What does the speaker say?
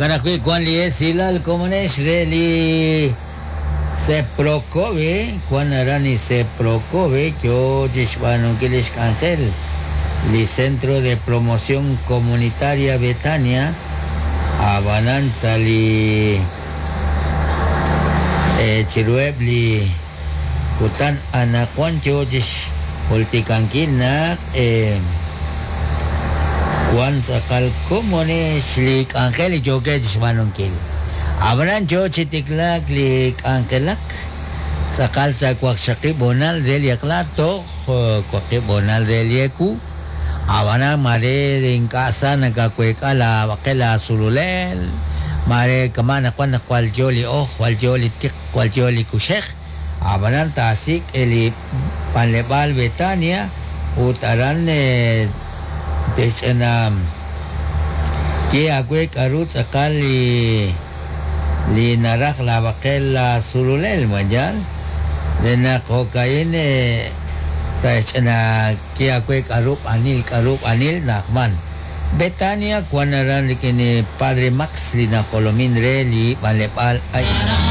Jo'kan ajwi' wan li esilal komonex re li Seprocove, wan aran li Seprocove yo chi xb'aanunkil li xk'anjel li Centro de Promoción Comunitaria Betania, ab'anan sa' li chiruheb' li kutan anaqwan yo chi xjultikankil naq wan tz'aqal komonex li k'anjel li yookeb' chi xb'aanunkil. Ab'anan yo chi tiklaak li k'anjelak tz'aqal sa' waqxaqib' hoonal re li eq'la toj waqib' hoonal re li ewu. Ab'anan mare ink'a' sa nakaweek'a laab'aqel laasululel, mare kama' anaqwan naq jwal yo li oj, jwal yo li tiq, jwal yo li kuxej, ab'anan taasik' li b'anleb'aal Betania ut aran te'xch'ina ye aawe k'aru tz'aqal li naraj laab'aqel laasululel ma yaal re naq jo'ka'in te'xch'ina ye aawe k'aru b'anil na'ajman. Betania wan aran rik'in li Padre Max li najolomin re li b'anleb'aal a'in.